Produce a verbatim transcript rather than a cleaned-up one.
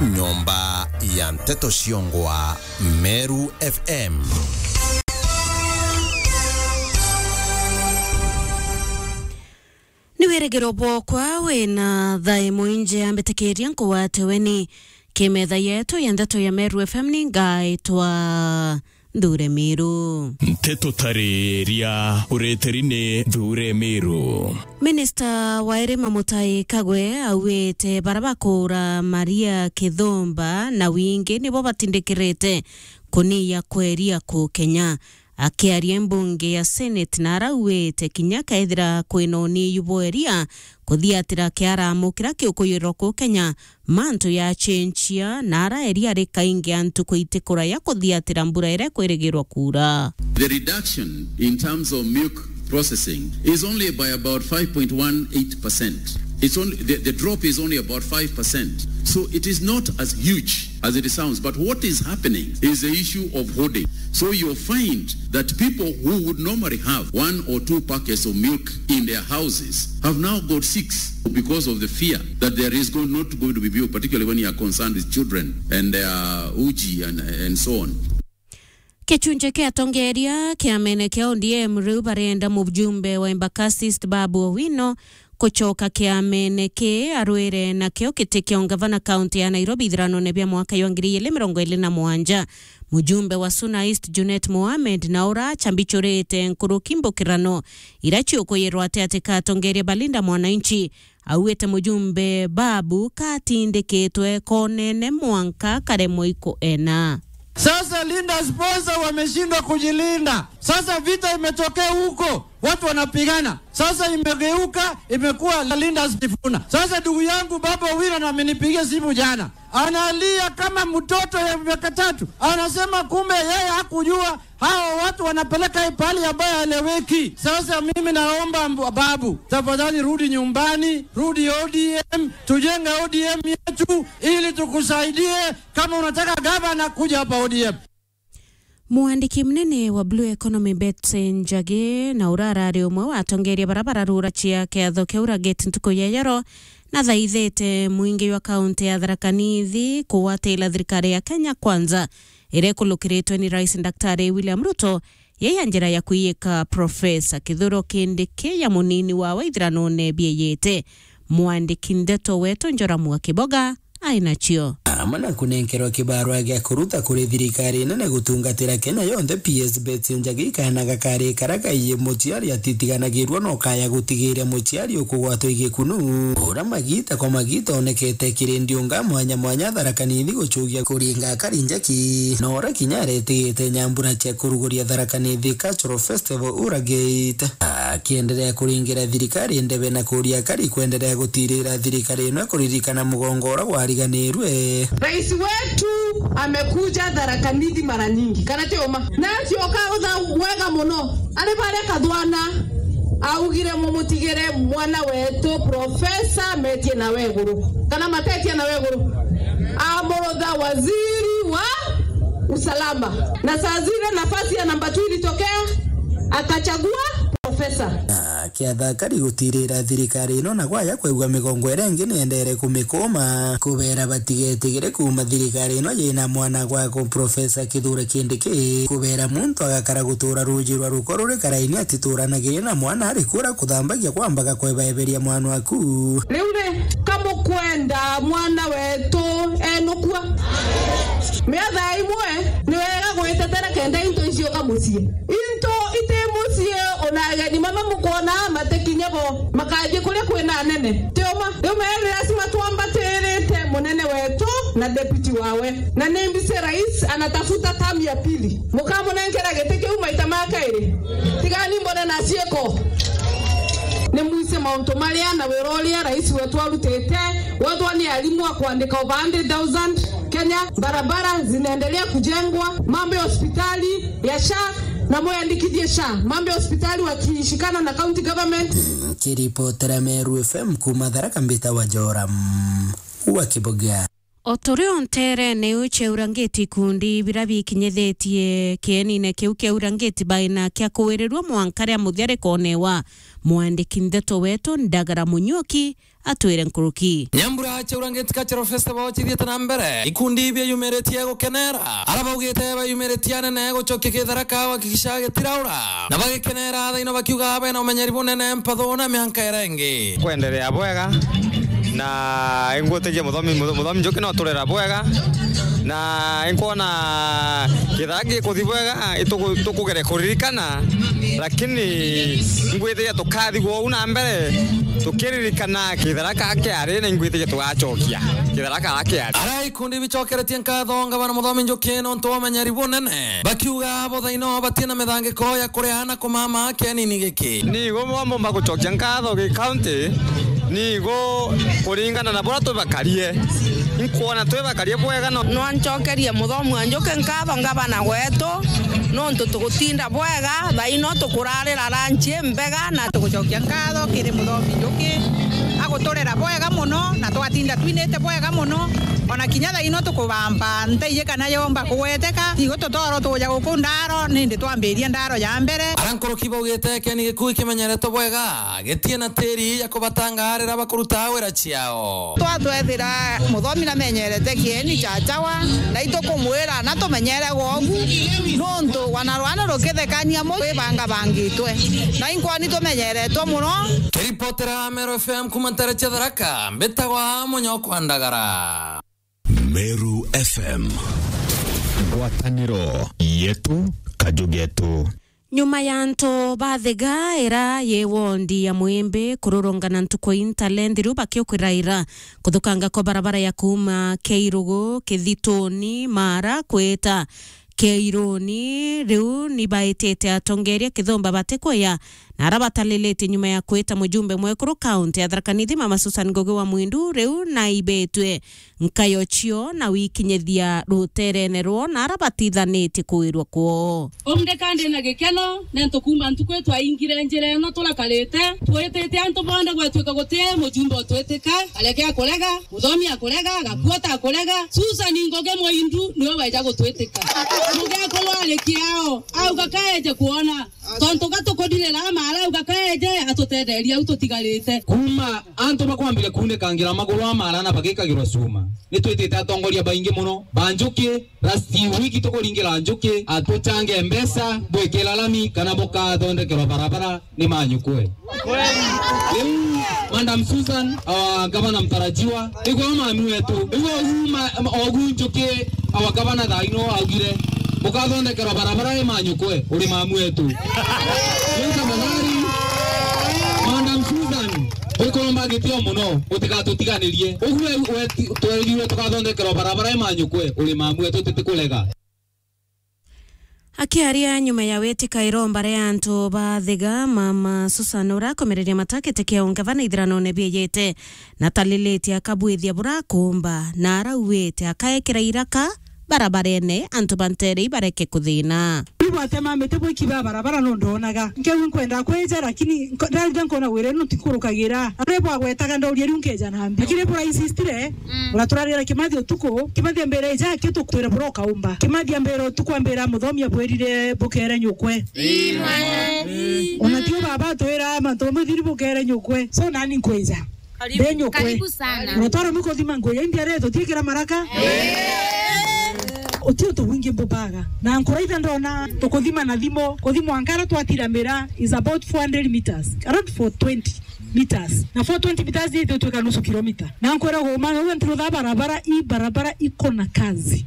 Nyomba ya nteto ciongwa Meru F M. Ni wirigiro bwokwa wina thae mwinje ambitikiria nkugwate weni kimetha yetu ya ndeto ya Meru F M ni ngaitwa Nthure Miru. Nteto tariria ureteri ni Nthure Miru. Minista wa irima Mutai Kagwe auite bara bakuura Maria Kithumba na wingi nibo batindikirite kuniya kweria ku Kenya. Akiaria mbunge ya Senate na arauite kinya kethira kwina uniyu bweria kuthiatira kiaramu kiria kiukuyirwa ku Kenya, mantu ya chenchia na araeria ari kaingi antu kwiti kuraya kuthiatira mbura iria ikwirigirwa kuura. The reduction in terms of milk processing is only by about five point one eight percent. It's only, the, the drop is only about five percent. So it is not as huge as it sounds. But what is happening is the issue of hoarding. So you'll find that people who would normally have one or two packets of milk in their houses have now got six because of the fear that there is go-, not going to be milk, particularly when you are concerned with children and their uji and, and so on. Kichunje kia atongeria kiamene kia O D M riu barenda mujumbe wa Embakasi East Babu Owino kuchoka kiamene ki arwire nakio giti kia ungavana kaunti ya Nairobi ithiranone bia mwaka jwa ngiri igiri mirongo iri na mugwanja. Mujumbe wa Suna East Junet Mohamed na ura achambichurite nkuruki mbukirano iria ciukuyirwa ati ati ka atongeria ba Linda Mwananchi. Auite mujumbe Babu katindikitwe konene mwanka karemwe ikuena. Sasa Linda sponsor wameshindwa kujilinda. Sasa vita imetokea huko, watu wanapigana. Sasa imegeuka, imekuwa Linda Sifuna. Sasa ndugu yangu Babu Owino na amenipigia simu jana. Analia kama mtoto ya miaka tatu. Anasema kumbe yeye hakujua hao watu wanapeleka hii pahali ambayo haeleweki. Sasa mimi naomba mb-, Babu, tafadhali rudi nyumbani, rudi O D M, tujenge O D M yetu ili tukusaidie. Kama unataka gavana, kuja hapa O D M. Mwandiki munene wa Blue Economy Betsy Njagi na ura arari umwe wa atongeria bara bararura chia kiatho kia Uragate ntuku ya yero, nathaithite mwingi jwa kaunti ya Tharaka Nithi kugwatira thirikari ya Kenya Kwanza iria ikulukiritwe ni Rais Daktari William Ruto, yai ya njira ya kwiyika Profesa Kithure Kindiki ya munini wawe ithiranone bieyete. Mwandiki ndeto wetu Njoramu wa Kiboga ainacio. Amwe na kunenkerwa kibarua gia kuruta kuri thirikari nene gutungatira Kenya yonthe, P S Betsy Njagi kaana gakari kara gaiye muciari atitiganagirua no kaya gutigiria muciari ukugwatwa igikunu. Ura magita kwa magita onekete kiri ndiunga mwanya mwanya Tharaka Nithi gucugia kuringa akari njaki. Na ura kinya aretigite nyambura cia kuruguria Tharaka Nithi Cultural Festival Ura Gate. Akienderea kuringira thirikari ndebe na kuria akari kwenderea gutirira thirikari ino kuririkana mugongo ura gwariganirwe. Rais wetu amekuja Tharaka Nithi mara nyingi, kana ti uma? Na acioka utha wega muno, ari baria kathwana augire, mumutigire mwana wetu Profesa Metie na Weguru, kana Matetia na Weguru, amurutha waziri wa usalama. Na saa zile nafasi ya namba two ilitokea, akachagua Profesa. Akiatha akari gutirira thirikari ino na gwaya kwigua migongo iria ingi niendere kumikuma. Kubera batigetigire kuuma thirikari ino yina mwana gwako Profesa Kithure Kindiki. Kubera muntu agakara gutura ruuji rwa ruko ruri karaini atituranagiria na mwana ari kura kuthambagia kwambaga kwebaeberia mwana waku. Riu ri, kamukwenda mwana wetu enukua? Miatha imwe ni wega gwitetera kenda into icioka mucii. Into iti mucii, ona ageni mama mukwona matikinye bo, makathii kuria kwina anene. Ti uma? Riu meri lazima twambatirite munene wetu na deputy wawe. Na ni mbisi rais anatafuta term ya pili. Mukamunenkera giti kiu maita ma kairi. Tigani mbone na ciiko. Ni mwise mauntu maria na wira uria rais wetu arutite, wethwa ni arimu a kwandika over hundred thousand Kenya, barabara zinaendelea kujengwa, mambo ya hospitali ya SHA, na mwandikithie SHA, mambo ya hospitali wakishikana na county government. Kiripotera Meru F M kuma Tharaka, mbita wa Joram wa Kiboga. O turi o nteerene iu cia urangiti, ikundi biria bikinyithitie kienine kiu kia urangiti baina kia kuwirirua mwanka ria muthia rikonewa. Mwandiki ndeto wetu Ndagara Munyuki atwire nkuruki. Nyambura cia urangiti Cultural Festival cithiite na mbere, ikundi biayumiritie gukenera. Ara baugite bayumiritie anene gucokia Kitharaka gwakikisha gitiraura. Na bagikenera thaino bakiuga bena umenyeri bunene mpathu na mianka iria ingi. Kwenderea bwega, na ingwitikia muthomi, mutho-, muthomi Njuki no turera bwega, na inkwona Kitharaka gikuthi bwega, ituku-, tukugere kuririkana, lakini ingwitikia tukathi gwou na mbere, tukiririkana Kitharaka kiari, na ingwitikia tugacokia Kitharaka kiari. Ara ikundi bicokeretie nkatho ngavana muthomi Njuki nontu wa umenyeri bunene. Bakiuga bo thaino batina mithangiko ya kuriha na kumama kienini giki. Nigo bwa mbumba gucokia nkatho gi county, nigo kuringana na buria twibakarie. Inkwona twibakarie bwega no. Nwancokerie muthomi wa Njuki nkatho ngavana wetu, nontu tugutinda bwega, thaino tukurarira ranchi mbega na tugucokia nkatho kiri muthomi Njuki. Aguturera bwega muno na twatinda twinite bwega muno, ona kinya thaino tukubamba nteiji kana yomba kugweteka, igo tutoro tuja guku ndaro, nindi twambiria ndaro ya mbere. Ara nkuruki baugite kieni gikuu kimenyeretwe bwega, gitie na tiri ya kubatangaarira bakuruta wira ciao. Twatwethira muthomi namenyerete kieni cha chawa, na itukumwira na tumenyere gwogu, nontu wana rwana rukithekania mu twibangabangitwe, na inkwoni tumenyeretwe muno. Kiripotera Meru F M kuma ntere cia Tharaka, mbitagwa Munyokwa Ndagara. Meru F M. Ngwataniro yetu, kaju getu. Nyuma ya antu ba Thega ira yi wondi ya Mwimbi kururungana ntuku intalenthiru bakiukwiraira kuthukanga kwa barabara ya kuuma Keirugu, Kithituni, Mara kwita Keiruni, riu ni baitite atongeria kithumba batikwia na ara batalilite nyuma ya kwita mujumbe mwekuru kaunti ya Tharaka Nithi, Mama Susan Ngugi wa Mwindu, riu naibitwe nkayo cio na wikinyithia ruterene rwo na ara batithanitie kuwirwa kwoo. Umdeka ndi na gikeno, nontu kuuma ntuku twaingire njira ino turakarite, twitite antu bonthe gwatuika guti mujumbe utwitika, areke akurega, muthomi akurega, gakuota akurega, Susan Ngugi Mwindu niwe weja gutwitika. Mugekuru ari kiao, auga kaeje kuona. Tontu ga tukuririra Mara, auga kaeje atutetherie au tutigarite. Kuuma antu bakwambire kuunikangira maguru a Mara na bagikagirwa cuma, ni twitite atongoria baingi muno ba Njuki. Last week tukuringira Njuki atuchange mbeca bwikira lami kana bukathondekerwa barabara ni manyukwe. Riu, Madam Susan, our governor mtarajiwa, igwe mami wetu, igwe uma, ogu Njuki, our governor thaa ino augire, mukathondekerwa barabara i manyukwe, uri mamu wetu. Riu tafadhali, Madam Susan, wikuromba gitio muno, utigatutiganirie. Ugu we, we, twerirwe tukathondekerwa barabara i manyukwe, uri mamu wetu, tutikurega. Akiaria nyuma ya witika iromba ria antu ba Thega, Mama Susan urakomereria mata giti kia ungavana ithiranone bieyete, na talilitie akabwithia burakumba, na arauite akaekera iraka barabarene antu ba ntere ibareke kuthina. Bwatema miti bwikiba barabara no ndonaga. Nkeu nkwenda kwija, lakini nko-, ndaruga nkona wira no tikurukagira. Aria bwagwetaga ndauria riu nkeja na mbi. Lakini bura insistire, Mm. Uraturarira Kimathi utuku, Kimathi ambira, "Ija, kio tukwire bura ukaumba." Kimathi ambira utuku, ambira, "Muthomi abwirire bukere nyukwe." Ii, mwana. Ona tio baba atwira mantu mamwe thiri bukere nyukwe. So nani nkwija? Karibu, Nde nyukwe. Karibu sana. Uratwara muko thima nguya, indi aria tutiikira maraka. Utio tubwingi mbubaga. Na nkuraitha ndona tukuthima na thimo, kuthima nkara twatiramira is about four hundred meters. Around four twenty meters. Na four twenty meters ni itutwika nusu kilomita. Na nkwira guma, uguo ntirutha barabara, i barabara iko na kazi.